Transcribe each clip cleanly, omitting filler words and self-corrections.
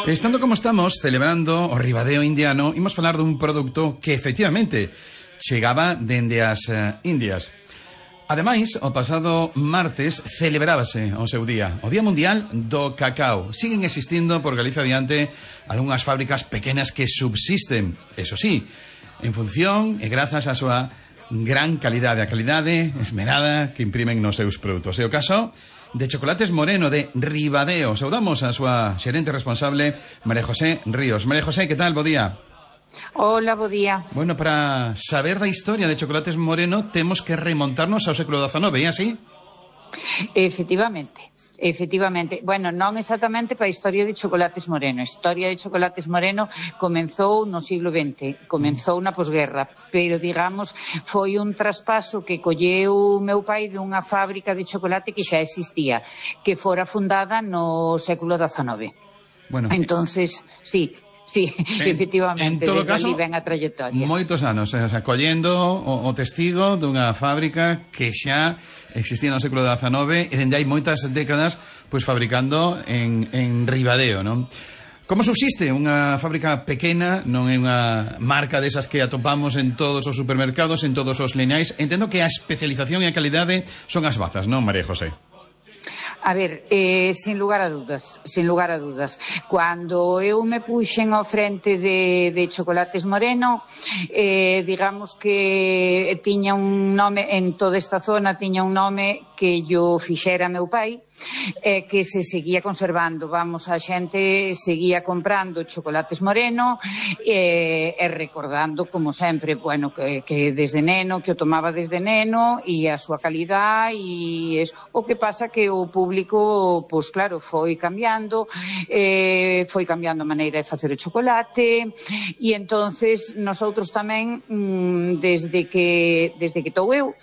Estando como estamos, celebrando o Ribadeo indiano, imos falar dun produto que efectivamente chegaba dende as Indias. Ademais, o pasado martes celebrábase o seu día, o Día Mundial do Cacao. Siguen existindo por Galicia adiante algunhas fábricas pequenas que subsisten, eso sí, en función e grazas á súa gran calidade, a calidade esmerada que imprimen nos seus produtos. É o caso de Chocolates Moreno de Ribadeo. Saudamos a súa xerente responsable, María José Ríos. María José, que tal? Bo día. Hola, bo día. Bueno, para saber da historia de Chocolates Moreno temos que remontarnos ao século XIX, é así? Efectivamente. Bueno, non exactamente para a historia de Chocolates Moreno. A historia de Chocolates Moreno comenzou no siglo XX, comenzou na posguerra, pero, digamos, foi un traspaso que colleu meu pai dunha fábrica de chocolate que xa existía, que fora fundada no século XIX. Bueno, entonces, sí, efectivamente, en todo desde caso, ali ven a trayectoria. Moitos anos, collendo o testigo dunha fábrica que xa existía no século XIX e dende hai moitas décadas pois fabricando en Ribadeo, non? Como subsiste unha fábrica pequena, non é unha marca desas que atopamos en todos os supermercados, en todos os lineais? Entendo que a especialización e a calidade son as bazas, non, María José? A ver, sin lugar a dudas. Cando eu me puxen ao frente de Chocolates Moreno, digamos que tiña un nome, en toda esta zona tiña un nome que yo fixera meu pai, que se seguía conservando. Vamos, a xente seguía comprando Chocolates Moreno e recordando, como sempre, bueno, que desde neno, que o tomaba desde neno, e a súa calidade, e o que pasa que o público, pois claro, foi cambiando a maneira de facer o chocolate, e entonces nosotros tamén, desde que estou eu,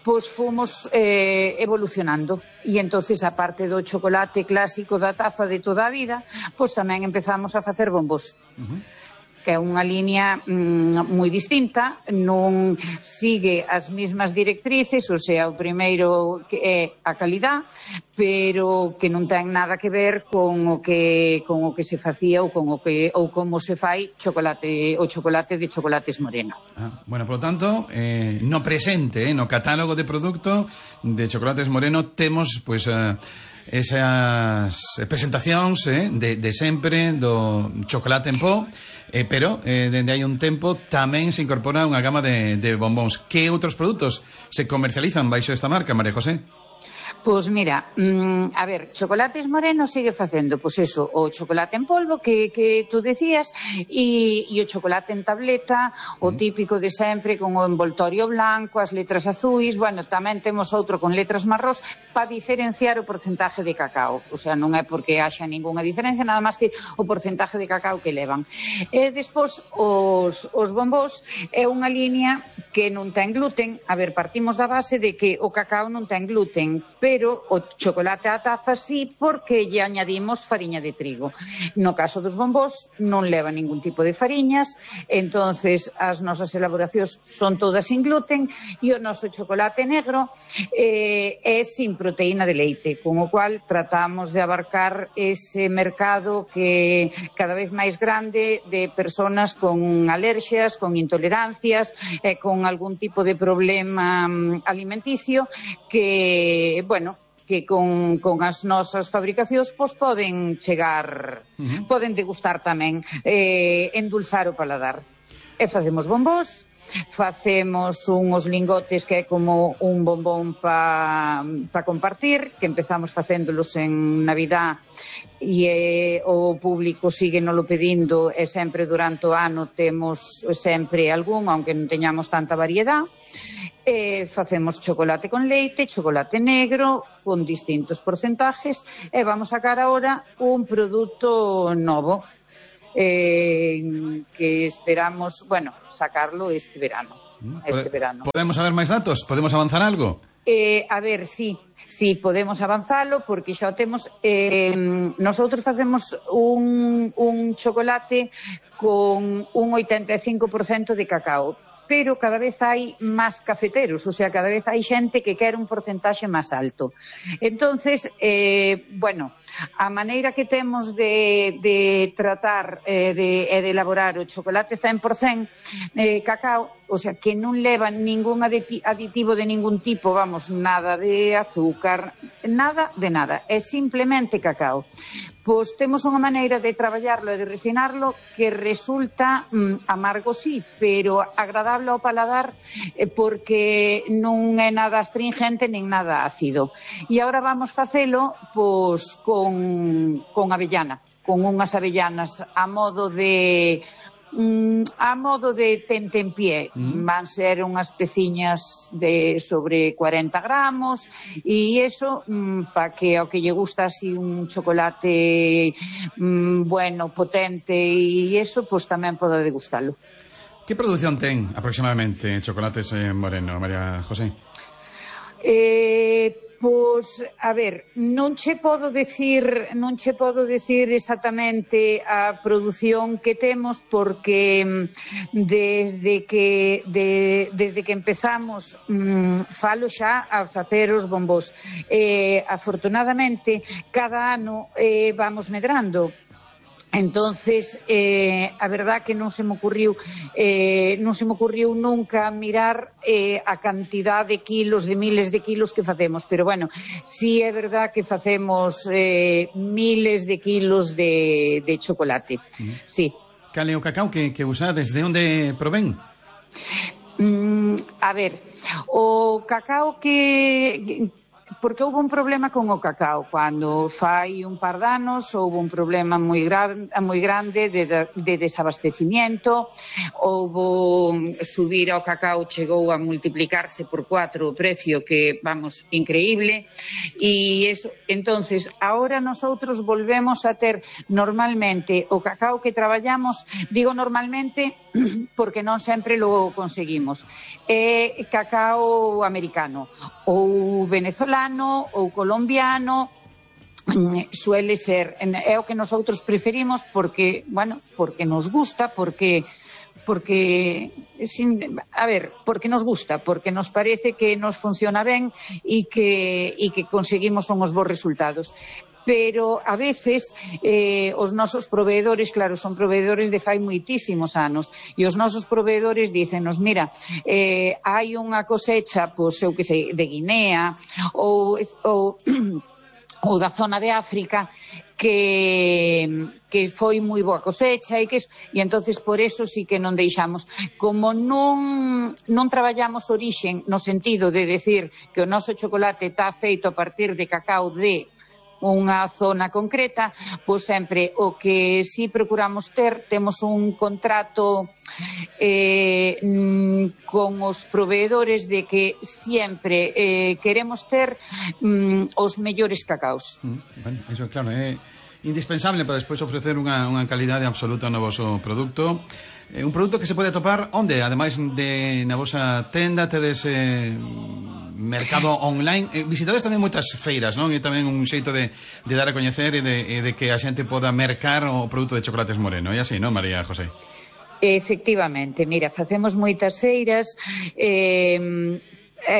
pois fomos evolucionando, e entonces, a parte do chocolate clásico da taza de toda a vida, pois tamén empezamos a facer bombos. Que é unha liña moi distinta, non sigue as mesmas directrices, o sea, o primeiro que é a calidad, pero que non ten nada que ver con o que se facía ou como se fai o chocolate de Chocolates Moreno. Bueno, por lo tanto, no presente, no catálogo de produto de Chocolates Moreno temos, pois, esas presentacións de sempre do chocolate en pó, pero dende hai un tempo tamén se incorpora unha gama de bombóns. Que outros produtos se comercializan baixo esta marca, María José? Pois mira, a ver, Chocolates Moreno sigue facendo, pois eso, o chocolate en polvo que tú decías, e o chocolate en tableta, o típico de sempre, con o envoltorio blanco, as letras azuis. Bueno, tamén temos outro con letras marrós para diferenciar o porcentaje de cacao. O sea, non é porque haxa ningunha diferencia, nada máis que o porcentaje de cacao que levan. E despois, os bombós é unha liña que non ten gluten. A ver, partimos da base de que o cacao non ten gluten, pero o chocolate á taza sí, porque lle añadimos fariña de trigo. No caso dos bombós non leva ningún tipo de fariñas, entonces as nosas elaboracións son todas sin gluten, e o noso chocolate negro é sin proteína de leite, con o cual tratamos de abarcar ese mercado que cada vez máis grande de personas con alerxias, con intolerancias, con algún tipo de problema alimenticio que, bueno, que con as nosas fabricacións pois poden chegar, poden degustar tamén, endulzar o paladar. E facemos bombós, facemos unhos lingotes que é como un bombón pa compartir, que empezamos facéndolos en Navidad, e o público sigue nolo pedindo, e sempre durante o ano temos sempre algún, aunque non teñamos tanta variedade. Facemos chocolate con leite, chocolate negro, con distintos porcentajes, e vamos sacar agora un produto novo que esperamos, bueno, sacarlo este verano. Podemos saber máis datos? Podemos avanzar algo? A ver, sí, podemos avanzalo, porque xa o temos. Nosotros facemos un chocolate con un 85% de cacao, pero cada vez hai máis cafeteros, o sea, cada vez hai xente que quere un porcentaxe máis alto. Entonces, bueno, a maneira que temos de tratar e de elaborar o chocolate 100% cacao, o sea, que non leva ningún aditivo de ningún tipo, vamos, nada de azúcar, nada de nada, é simplemente cacao. Pois temos unha maneira de traballarlo e de refinarlo que resulta amargo, sí, pero agradable ao paladar porque non é nada astringente nin nada ácido. E agora vamos facelo pois con avellana, con unhas avellanas a modo de tentempié. Van ser unhas peciñas de sobre 40 gramos e iso para que ao que lle gusta así un chocolate bueno, potente e iso, pois tamén poda degustalo. Que produción ten aproximadamente Chocolates Moreno, María José? Pois, a ver, non che podo dicir exactamente a produción que temos porque desde que empezamos falo xa a facer os bombós. Afortunadamente, cada ano vamos medrando. Entonces, a verdad que non se me ocurriu nunca mirar a cantidad de kilos, de miles de kilos que facemos, pero bueno, sí é verdad que facemos miles de kilos de chocolate, sí. Cal é o cacao que usades? De onde provén? A ver, o cacao que... Porque houve un problema con o cacao. Cando fai un par de anos houve un problema moi grande de desabastecimiento. Houve subir ao cacao, chegou a multiplicarse por 4 o precio, que, vamos, increíble. E eso, entonces, ahora nosotros volvemos a ter normalmente o cacao que traballamos, digo normalmente porque non sempre lo conseguimos. É cacao americano ou venezolano ou colombiano, suele ser, é o que nosotros preferimos porque, bueno, porque nos gusta, porque nos gusta, porque nos parece que nos funciona ben e que conseguimos uns bons resultados. Pero a veces os nosos proveedores, claro, son proveedores de fai moitísimos anos, e os nosos proveedores dícenos, mira, hai unha cosecha, pois eu que sei, de Guinea ou da zona de África que foi moi boa cosecha e entonces por eso sí que non deixamos. Como non traballamos orixe no sentido de decir que o noso chocolate está feito a partir de cacao de unha zona concreta, pois sempre o que si procuramos ter, temos un contrato con os proveedores de que sempre queremos ter os mellores cacaos. Bueno, iso claro, é indispensable para despois ofrecer unha calidade absoluta no voso produto. Un produto que se pode atopar onde? Ademais de na vosa tenda, tedes mercado online, visitades tamén moitas feiras, non? E tamén un xeito de dar a coñecer e de que a xente poda mercar o produto de Chocolates Moreno, e así, non, María José? Efectivamente, mira, facemos moitas feiras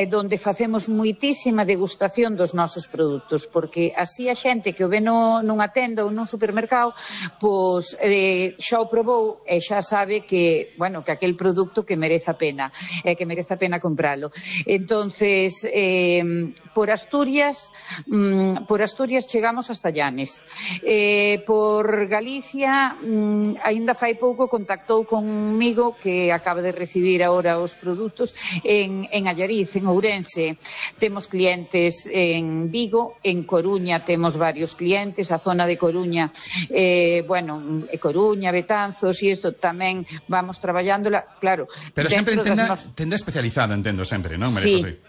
donde facemos moitísima degustación dos nosos produtos, porque así a xente que o ve nunha tenda ou nun supermercado, pois xa o probou e xa sabe que, bueno, que aquel produto que merece a pena, que merece a pena compralo. Entonces, por Asturias chegamos hasta Llanes. Por Galicia, aínda fai pouco contactou conmigo, que acaba de recibir agora os produtos en Allariz, en Ourense. Temos clientes en Vigo, en Coruña temos varios clientes, a zona de Coruña, Coruña, Betanzos, e isto tamén vamos traballándola, claro. Pero sempre tenda especializada, entendo sempre, non, María José?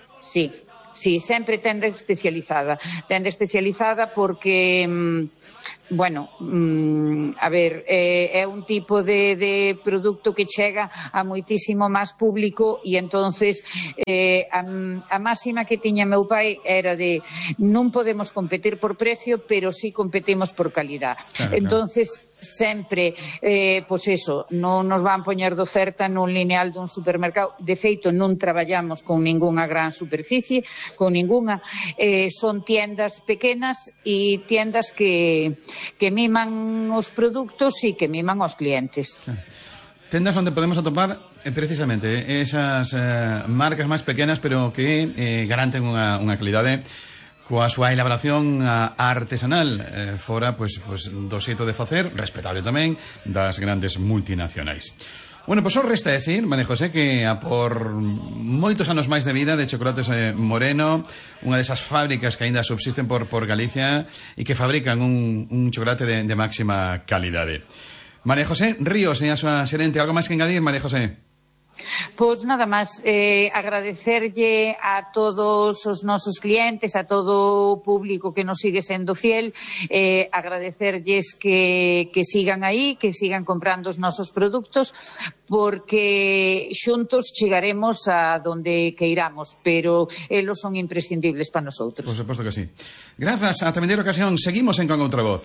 Sí, sempre tenda especializada. Tenda especializada porque bueno, a ver, é un tipo de produto que chega a moitísimo máis público e entonces a máxima que tiña meu pai era de non podemos competir por precio, pero sí competimos por calidad. Claro, entonces sempre, pois eso, non nos van poñer de oferta nun lineal dun supermercado. De feito, non traballamos con ningunha gran superficie, con ningunha. Son tiendas pequenas e tiendas que miman os produtos e que miman aos clientes. Tendas onde podemos atopar precisamente esas marcas máis pequenas, pero que garanten unha calidade coa súa elaboración artesanal, fora pues, do xeito de facer, respetable tamén, das grandes multinacionais. Bueno, pois só resta decir, María José, que a por moitos anos máis de vida de Chocolates Moreno, unha desas fábricas que aínda subsisten por Galicia e que fabrican un chocolate de máxima calidade. María José Ríos, a súa xerente, algo máis que engadir, María José? Pois nada máis, agradecerlle a todos os nosos clientes, a todo o público que nos sigue sendo fiel, agradecerlles que sigan aí, que sigan comprando os nosos produtos, porque xuntos chegaremos a donde queiramos, pero elos son imprescindibles para nosotros. Por suposto que sí. Grazas, ata a vindeira ocasión, seguimos en Con Outra Voz.